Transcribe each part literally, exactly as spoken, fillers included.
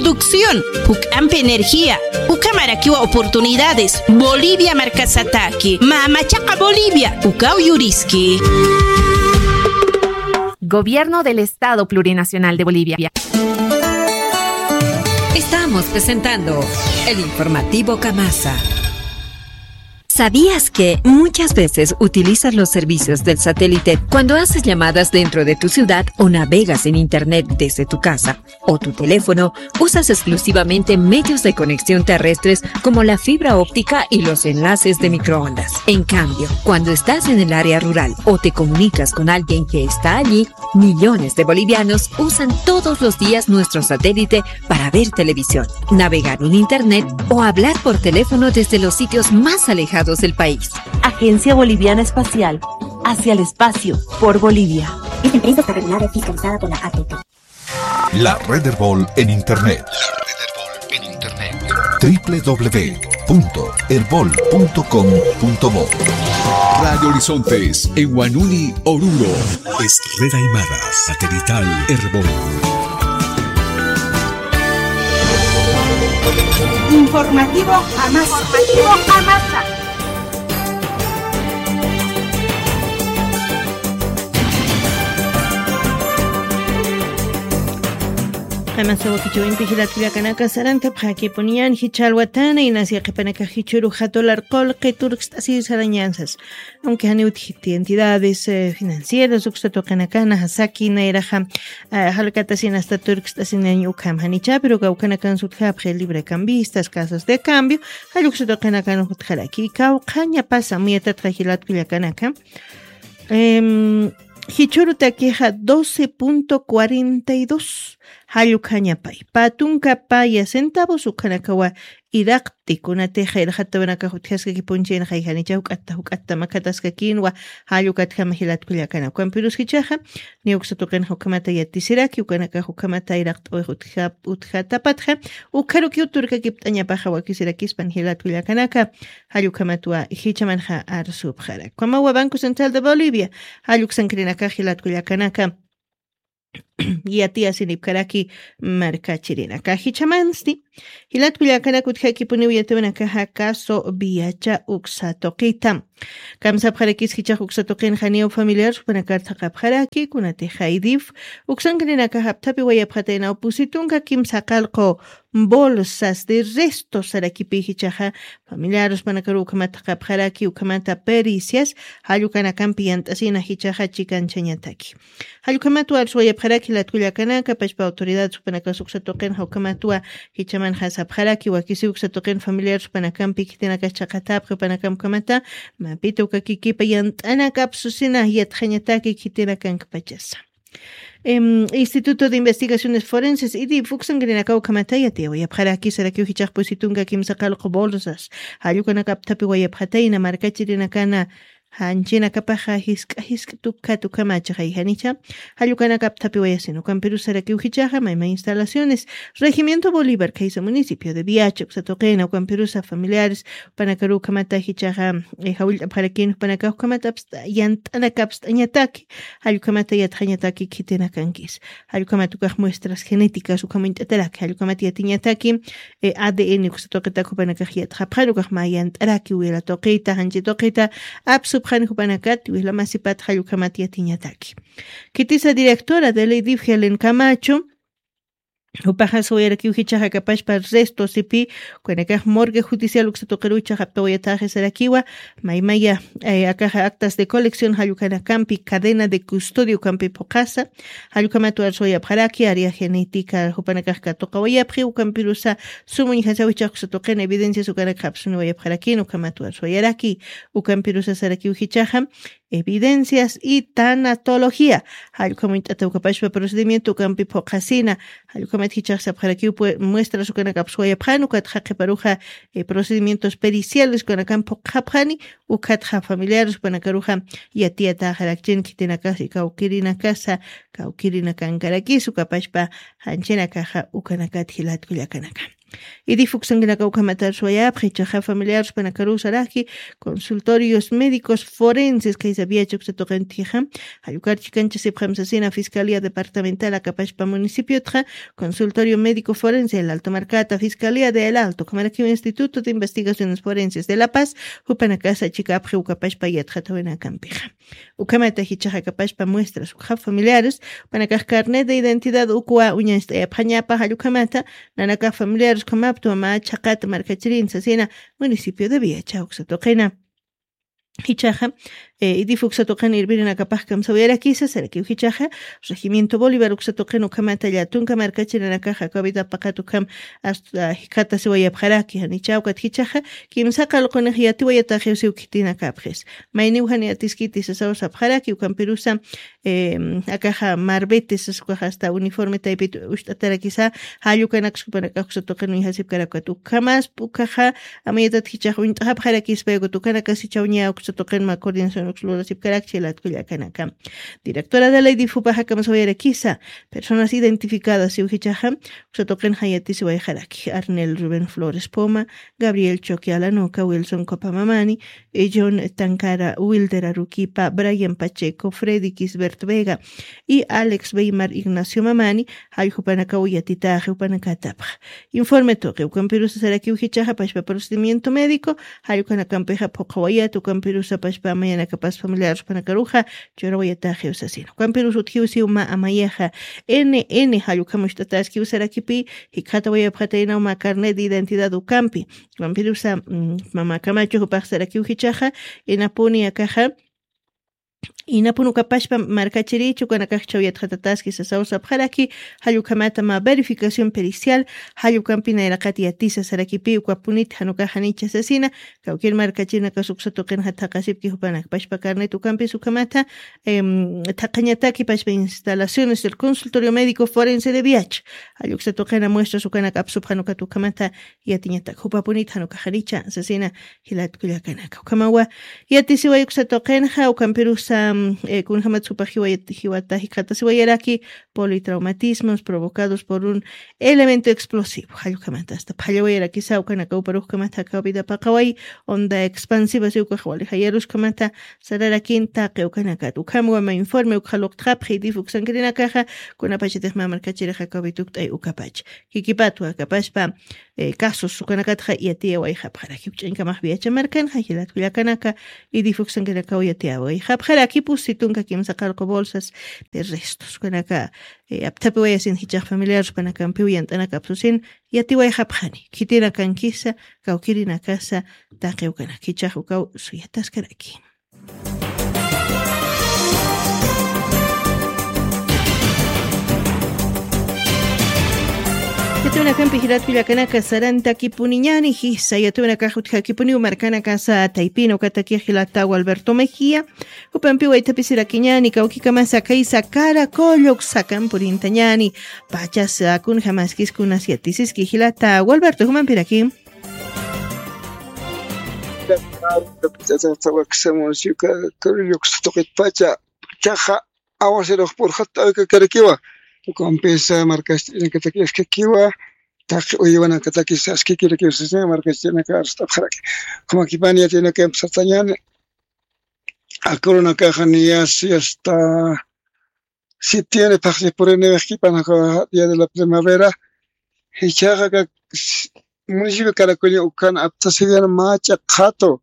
Producción, juk'ampi energía, ukhamarakiwa oportunidades, Bolivia markasataki, mamachaqa Bolivia, ukaw yuriski. Gobierno del Estado Plurinacional de Bolivia. Estamos presentando el informativo Camasa. ¿Sabías que muchas veces utilizas los servicios del satélite cuando haces llamadas dentro de tu ciudad o navegas en internet desde tu casa o tu teléfono? Usas exclusivamente medios de conexión terrestres como la fibra óptica y los enlaces de microondas. En cambio, cuando estás en el área rural o te comunicas con alguien que está allí, millones de bolivianos usan todos los días nuestro satélite para ver televisión, navegar en internet o hablar por teléfono desde los sitios más alejados del país. Agencia Boliviana Espacial, hacia el espacio, por Bolivia. Esta empresa está regulada y fiscalizada por la A T T. La red Erbol en internet. La red Erbol en internet. W W W punto erbol punto com punto bo. Radio Horizontes en Huanuni, Oruro. Es red aymara satelital Erbol. Informativo Jamás. Informativo Jamás. Qamasa wakichawinpi jilat kullakanaka, sarantapxakipuniñan jichha alwatana inas yaqhipanakax jichhüru jatular qullqi turkst'asir sarañansas. Aunque janiw utjiti entidades, eh, financieras uksa tuqinakana jasaki nayraxa, eh, jalkatasin hasta turkst'asinañ ukham janicha, pero kawkanakan sutjapxi libre cambistas, casas de cambio, jall uksa tuqinakan jutjaraki. Kawkhañapasa muyatatxa jilat kullakanaka. Em, jichhürutakixa doce punto cuarenta y dos jall ukhañapay. Pä tunka paya centavos ukhanakawa iraqti, kunatixa irxatawanakax utjaskakipunchïna jayjanicha juk'atta juk'atta makhataskakinwa jall ukatjama jilat kullakana. Ukampirus jichhaxa, niy uksa tuqinxa ukhamata yatisiraki, ukanakax ukhamata iraqt'awix utja-, utjatapatxa, ukharukiw turkakipt'añapaxa wakisirakispan jilat kullakanaka. Jall ukhamatwa jichhamanxa arsupxarak. Ukhamawa Banco Central de Bolivia, jall uksankirinakax jilat kullakanaka, yatiyasinipkaraki markachirinaka. Jichhamansti, jilat kullakanaka utjakipuniw yatiwanakaxa caso Viacha uksa tuqita. Kamsapxarakis jichhax uksa tuqinxa niyaw familiar jupanakar thaqapxaraki, kunatixa IDIF uksankirinakax apthapiwayapxataynaw pusi tunka kimsa qallqu bolsas de restos sarakipï jichhaxa familiares jupanakaruw ukhamat thaqapxaraki, ukhamata pericias jall ukanakampi yant'asina jichhaxa chikanchañataki. Jall ukhamatwa arswayapxaraki jilat kullakanaka, pachpa autoridades jupanakas uksa tuqinxa ukhamatwa jichhamanxa sapxaraki, wakisiw uksa tuqin familiares jupanakampi khitinakas chhaqatäpxi, jupanakamp ukhamata mapita uka kikipa yant'anakap susina yatxañataki khitinakankpachasa. Em, Instituto de Investigaciones Forenses, IDIF, uksankirinakaw ukhamata yatiyawayapxaraki sarakiw jichhax pusi tunka kimsa qallqu bolsas jall ukanaka apthapiwayapxatayna markachirinakana, janchinakapaxa jisk'a jisk'a tukhat ukhamacha jayjanicha, jall ukanaka apthapiwayasin. Ukampirus sarakiw jichhaxa mayma instalaciones, Regimiento Bolívar khaysa municipio de Viacha uksa tuqina, ukampirusa familiares jupanakaruw ukhamata jichhaxa, eh, jawillt'apxarakïn jupanakax ukhamata apst'a-, yant'anaka apst'añataki, jall ukhamata yatxañataki khitinakankis. Jall ukhamat ukax muestras genéticas ukham uñt'ataraki, jall ukhamat yatiñataki, eh, A D N uksa tuqitak jupanakax yatxapxani, ukax mä yant'araki wila tuqita, janchi tuqita apsupxani jupanakat, wila masipat jall ukhamat yatiñataki. Khitisa directora del IDIF, Helen Camacho, jupaxa sawayarakiw jichhaxa kapachpa restos sipï, ukanakax morgue judicial uksa tuqiruw jichhax aptawayatxi sarakiwa, maymaya, eh, akaxa actas de colección jall ukanakampi, cadena de custodia ukampi phuqhasa, jall ukhamatwa arswayapxaraki, área genética jupanakax katuqawayapxi, ukampirusa sum uñjasaw jichhax uksa tuqin evidencias ukanakax apsuniwayapxarakïn, ukhamatwa arswayaraki, ukampirusa sarakiw jichhaxa, evidencias y tanatología. Jall ukham uñt'ataw ukapachpa procedimiento ukampi phuqhasina. Jall ukhamat jichhax sapxarakiw pue-, muestras ukanaka apswayapxani, ukatxa qhiparuxa, eh, procedimientos periciales ukanakamp phuqhapxani, ukatxa familiares jupanakaruxa yatiyatäxarakchin khitinakasa, kawkirinakasa, kawkirinakankarakis ukapachpa janchinakaxa ukanakat jilat kullakanaka. Idifuksankinaka ukhamata arswayapxi, ichaxa familiar jupanakaru saraki consultorios médicos forenses kaysa viacha uksa tuqintixa, jallukar chikanchasipxam sasina Fiscalía Departamental akapashpa municipiotxa, consultorio médico forense El Alto markata, Fiscalía de El Alto ukhamarakiw Instituto de Investigaciones Forenses de La Paz, jupanakasa chikapxi ukapashpa yatxatawinakampixa. Ukhamata jichaxa akapashpa muestras ukxa familiares, jupanakax carnet de identidad ukwa uñast'ayapxañapa jallukhamata, nanakax familiares ukhamaptwa mä chhaqat markachirin sasina municipio de Viacha uksa tuqina. Jichaxa, idifuksa tuqina irvirinakapax kamsawiyarakisa sarakiw jichaxa, regimiento Bolívar uksa tuqina ukhamata llatunka markachirinakaxa kawidapaqat ukham asta jikatasiwayapxaraki janichawkat jichaxa, kimsa qalqunix yatiwayataxiwsiw khitinakapxis. Mayniw jani atiskiti sasaw sapxaraki ukampirusa, akaxa marbete sasukaxa asta uniforme taypit ucht'atarakisa, jallukanaksa jupanakax uksa tuqin uñjasipkarakat ukhamaspa ukaxa, amayatat jichax uñt'axapxarakispa ukat ukanakasichaw ña uksa tuqin mä coordinación uksa lurasipkarakchi latkullakanaka. Directora de la idifupaxa kamsawiyarakisa, personas identificadas iw jichaxa uksa tuqin jayatisiwayxaraki Arnel Rubén Flores Poma, Gabriel Choque Alanoca, Wilson Copamamani, John Tancara, Wilder Aruquipa, Brian Pacheco, Freddy Kisbert Vega y Alex Weimar Ignacio Mamani, jalljupanakaw yatitaxi jupanakatapxa. Informe tuqi ukampirusa sarakiw jichaxa pashpa procedimiento médico, jallukanakampixa phuqhawayat ukampirusa pashpa mayanakapas familiar jupanakaruxa churawayataxiw sasina. Ukampirus utjiwsiw mä amayaxa N N jallukam ucht'ataskiw sarakipi, jikxatawayapxataynaw mä carnet de identidad ukampi. Ukampirusa, mamakamachu jupax sarakiw jichaxa, inapuni akaxa, inapun ukapashpa markachirichu ukanakaxchaw yatxatataski sasaw sapxaraki, jallukhamata mä verificación pericial, jallukampi nayraqat yatisa sarakipi ukapunit janukax janicha sasina, kawkir markachirinakas uksa tuqinxa thaqasipki jupanakpashpa carnet ukampis ukhamata, thaqañataki pashpa instalaciones del consultorio médico forense de Viacha, jalluksa tuqina muestras ukanak apsupxan ukat ukhamata yatiñatak jupapunit janukax janicha sasina, jilat kullakanaka. Ukhamawa yatisiway uksa tuqinxa, ukampirusa, kunjamat jupax jiwata jikxatasiwayaraki politraumatismos provocados por un elemento explosivo. Jallukhamata asta phallawayarakisa ukanaka uparukhamata jakaw vida paqaway onda expansiva si ukax wali jayaruskamata sararakin taqi ukanakat. Ukhamawa mä informe ukxa luqtxapxi idifuksankirinakaxa, kunapachatix mä markachirix jakaw vitukt'ay ukapacha. Jikipatwa akapashpa, casos ukanakatxa yatiyawayxapxaraki. Ch'añkamax viacha markanxa jilat kullakanaka, idifuksankinakaw yatiyawayxapxaraki pusi tunka kimsa qalqu bolsas de restos ukanaka, apthapiwayasin jichax familiar jupanakampiw yant'anakapsusin yatiwayxapxani khitinakankisa, kawkirinakasa, taqi ukanak jichax ukaw suyataskaraki. Yatuwinakampi jilat kullakanaka sarantakipuniñani jisa yatuwinakax utjakipuniw markanakasa taypina ukatakix jilata Gualberto Mejía, jupampiw aythapisirakiñani kawkikamasa kaysa karakulluk sakampurintañani. Pachasa kunjamaskis kunas yatisiski jilata Gualberto jumampiraki. Tawaksa municipio Carrillo tuqitpacha chaqa aguacerux purxat t'awikakarakiwa. Ukampisa markastinakataki askakiwa, taqi uywanakataki saskikirakiwa sasina markastinaka arst'apxaraki. Ukhamakipan yatinaka empezatañani. Akurunakaxa niyasi hasta septiembre phaxsi puriniwixkipan día de la primavera. Jichhaxa municipio Caracuña ukan aptasiwian macha qhatu,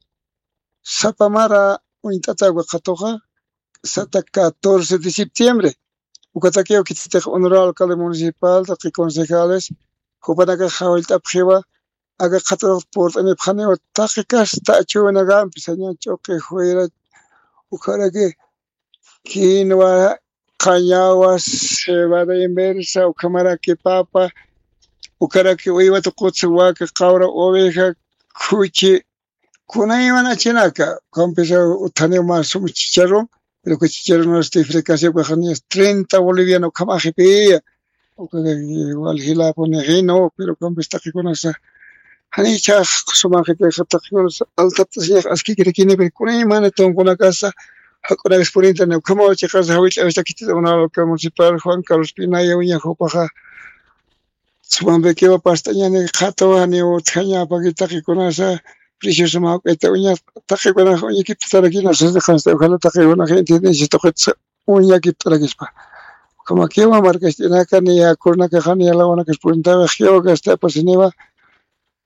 sapamara uñt'ata uka qhatuxa sata catorce de septiembre. Ukatakiw khititix honorable alcalde municipal taqi concejales jupanakax jawillt'apxiwa. Aka qhaturux purt'anipxaniwa taqi kasta achuwinakampi saña ch'uqi juyra, ukharaki quinoa, qañawa, cebada inversa, ukhamaraki papa, ukharaki uywata qutsa waka qawra oveja, khuchi, kunaymanachinaka. Ukampisa uthaniw mä sum chicharrón, pero que chicharrón este fricasio ukaxaniñas treinta boliviano ukhamaxipiya. Uka igual jilapuni jino pero ukampis taqikunasa janichax sumaxitixa taqikunasa altaptasiñax askikirakini pero kunaymani tunkunakasa jak'unakis purintani. Ukhamaw chiqasa jawillt'awistakitita unawalka municipal Juan Carlos Pinaya uñax jupaxa Sumampikiwa past'añani qhatawa, janiw utjaña apaki taqikunasa, preciosa mawk'ayta uña, taqikunaxa uñakiptatarakina, sasniqansta, ojalá taqikunaxa entiendencia tuqitsa uñakipt'arakispa. Ukhamakiwa markast'inaka, niya kurunakaxa, niya lawanakaspurintawix, kiwa gasta apasiniwa,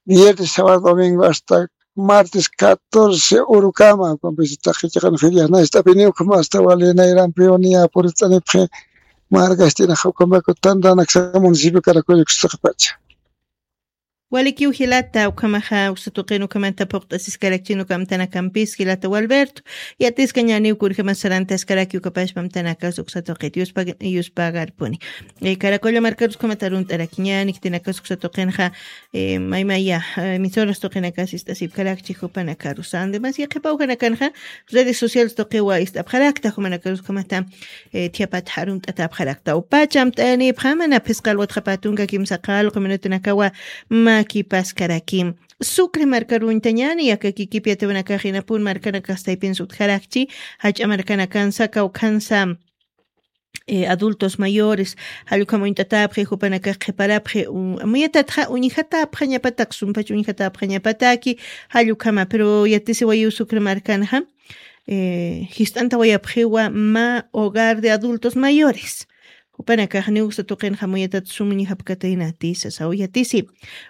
viernes, sábado, domingo, hasta martes catorce urukama, ukampis taqi chiqan ferias, nayst'apiniw ukhama hasta wali nayrampiw niya purist'anipxi, markast'inaxa ukhamaku tantanaksa municipio Caracollo uksa tuqipacha. Walikiw jilata, ukhamaxa uksa tuqin ukhamata phuqt'asiskarakchin uka amtanakampis jilata Walberto. Yatiskañäniw kunjämas sarantaskaraki ukapachpa amtanakas uksa tuqit yuspa-, yuspagarpuni. Eh, Caracollo markarus ukhamat arunt'arakiñäni, khitinakasa uksa tuqinxa, eh, maymaya, eh, emisoras tuqinakas ist'asipkarakchi jupanakarus. Además, yaqhipa ujanakanxa redes sociales tuqiwa ist'apxarakta, jumanakarus ukhamata, eh, thiapat arunt'atapxarakta. Upacha amt'ayanipxama, na phisqa alwat qhapa tunka kimsa qallqu minutunakawa makipaskaraki. Sucre markaruñtañäni, yaka kikip yatiwanakax inapun markanakax taypinsa utjarakchi, jach'a markanakansa, kawkhansa, eh, adultos mayores, jall ukham uñt'atäpxi, jupanakax qhiparapxi, u-, amuyatatxa uñjatäpxañapatak, sumpach uñjatäpxañapataki, jall ukhama, pero yatisiwayiw Sucre markanxa, eh, jist'antawayapxiwa mä hogar de adultos mayores. Jupanakax niw uksa tuqinxa amuyatat sum uñjapkataynati sasaw yatisi.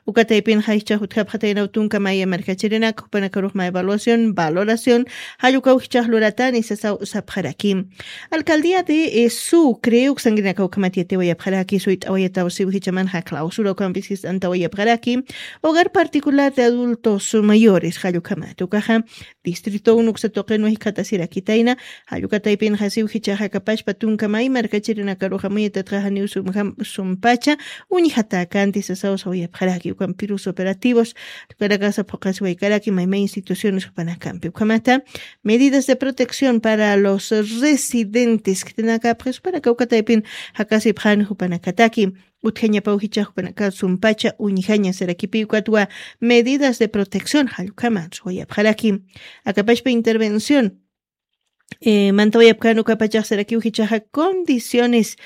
Uka taypinxa jichhax utjapxataynaw tunka maya markachirinaka, jupanakarux mä evaluación, valoración, jall ukaw jichhax luratani sasaw sapxaraki. Alcaldía de, eh, Sucre, uksankirinakaw ukhamat yatiwayapxaraki, suyt'awayataw siw jichhamanxa clausura ukampis jist'antawayapxaraki, hogar particular de adultos mayores, jall ukhamat. Ukaxa, distrito uno uksa tuqinwa jikxatasirakitayna, jall uka taypinxa siw jichhax akapachpa tunka may markachirinakaruxa amuyatatxa janiw sumjam-, sumpacha uñjatäkanti sasaw sawayapxaraki, ukampirus operativos, ukanakasa phuqasiwaykaraki, maymay instituciones jupanakampi. Ukhamata, medidas de protección para los residentes, khitinakapxi jupanaka uka taypin jakasipxani jupanakataki, utjañapaw jichhax jupanaka sumpacha uñjaña sarakipi, ukatwa medidas de protección, jall ukhamat sawayapxaraki. Akapachpa intervención, eh, mantawayapkän ukapachax sarakiw jichhaxa condiciones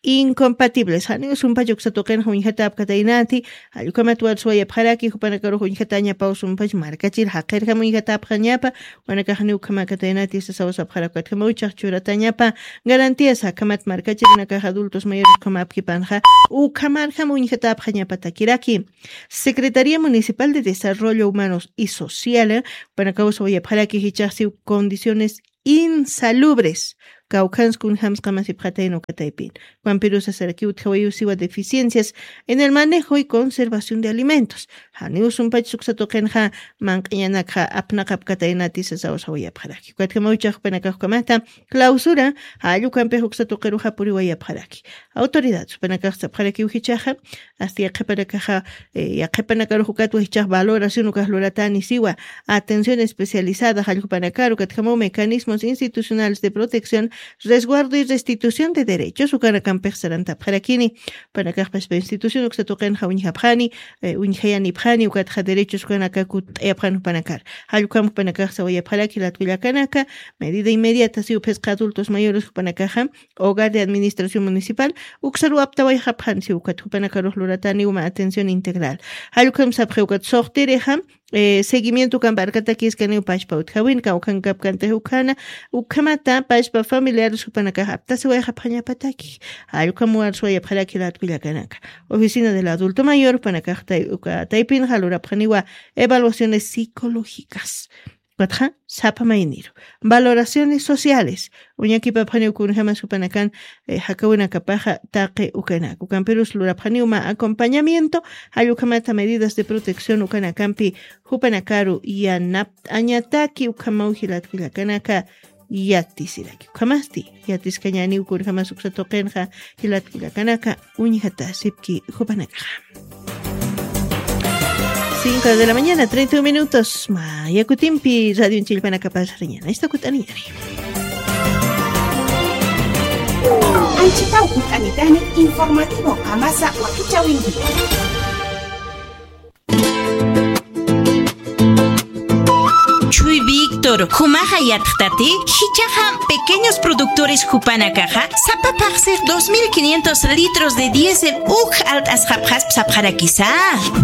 incompatibles. Janiw sumpacha uksa tuqinxa uñjatäpkataynati, jall ukhamat warswayapxaraki, jupanakarux uñjatäñapaw sumpach markachir jaqirjam uñjatäpxañapa, jupanakax janiw ukhamäkataynati sasaw sapxarak, ukatjamaw jichhax churatäñapa garantías, akhamat markachirinakax adultos mayores ukham apkipanxa, ukhamarjam uñjatäpxañapatakiraki. Secretaría Municipal de Desarrollo Humanos y Social, eh, jupanakaw sawayapxaraki jichhax siw condiciones insalubres, kawkhans kunjams qamasipxatayna uka taypin. Juan Pirusa saraki utjawayiw siwa deficiencias en el manejo y conservación de alimentos. Janiw sumpach uksa tuqinxa manq'iñanakxa apnaqapkataynati sasaw sawayapxaraki. Ukatjamaw jichhax jupanakax ukhamata clausura, jall ukampix uksa tuqiruxa puriwayapxaraki. Autoridad jupanakax sapxarakiw jichhaxa, hasta yaqhipanakaxa, eh, yaqhipanakarux ukatwa jichhax valoración ukax luratani siwa, atención especializada jall jupanakaru, ukatjamaw mecanismos institucionales de protección, resguardo y restitución de derechos, ukanakampix sarantapxarakini, jupanakax pachpa institución uksa tuqinxa uñjapxani, eh, uñjayanipxani, ukatxa derechos ukanaka kutt'ayapxani jupanakar. Jall ukham jupanakax sawayapxaraki jilat kullakanaka, medida inmediata siw phisqa adultos mayores jupanakaxa, hogar de administración municipal, uksaruw aptawayxapxani siw ukat jupanakarux luratani uma atención integral. Jall ukham sapxi ukat suxtirixa, eh, seguimiento ukamp arkatakïskaniw pachpa utjawin, kawkhankapkantix ukhana, ukhamata pachpa familiares jupanakax aptasiwayxapxañapataki. Jall ukham warswayapxaraki jilat kullakanaka. Oficina del adulto mayor jupanakax tay-, uka taypinxa lurapxaniwa evaluaciones psicológicas. Ukatxa, sapa mayniru. Valoraciones sociales. Uñakipapxaniw kunjamas jupanakan, eh, jakawinakapaxa taqi ukanaka. Ukampirus lurapxaniw mä acompañamiento, jall ukhamata medidas de protección ukanakampi jupanakaru yanapt'añataki, ukhamaw jilat kullakanaka yatisiraki. Ukhamasti, yatiskañäniw kunjamas uksa tuqinxa jilat kullakanaka uñjatasipki jupanakaxa. Cinco de la mañana, treinta y un minutos. Maya kutimpi radio chillpanakapasariñana. Esta kut'aniyari. Anchitaw kut'anitani informativo Qamasa Wakichäwinki. Chuybik productor jumaxa yatxtati, jichhaxa pequeños productores jupanakaxa sapa phaxsix dos mil quinientos litros de diésel uk alt'asxapxasp sapxarakisa.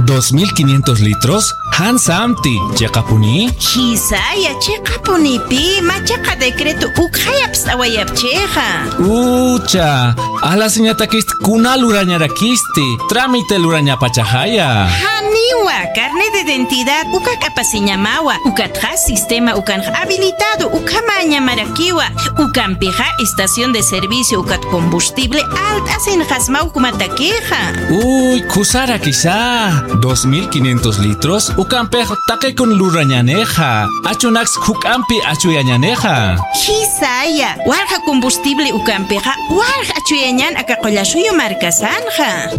¿Dos mil quinientos litros? Jan samti, ¿chiqapuni? Jisaya, chiqapunipi, machaqa decreto ukxay apst'awayapchixa. Ucha, alasiñatakist kuna lurañarakisti, trámite lurañapachaxaya. Janiwa, carnet de identidad uka k'apasiñamawa, ukatxa sistema ukanx habilitado ukhamäñamarakiwa, ukampixa estación de servicio ukat combustible alt'asinxasmaw jumatakixa. Uy, kusarakisa, dos mil quinientos litros ukampix taqikun lurañänixa, achunaks juk'ampi achuyañänixa. Jisaya, walja combustible ukampixa walja achuyañän aka Qullasuyu markasanxa.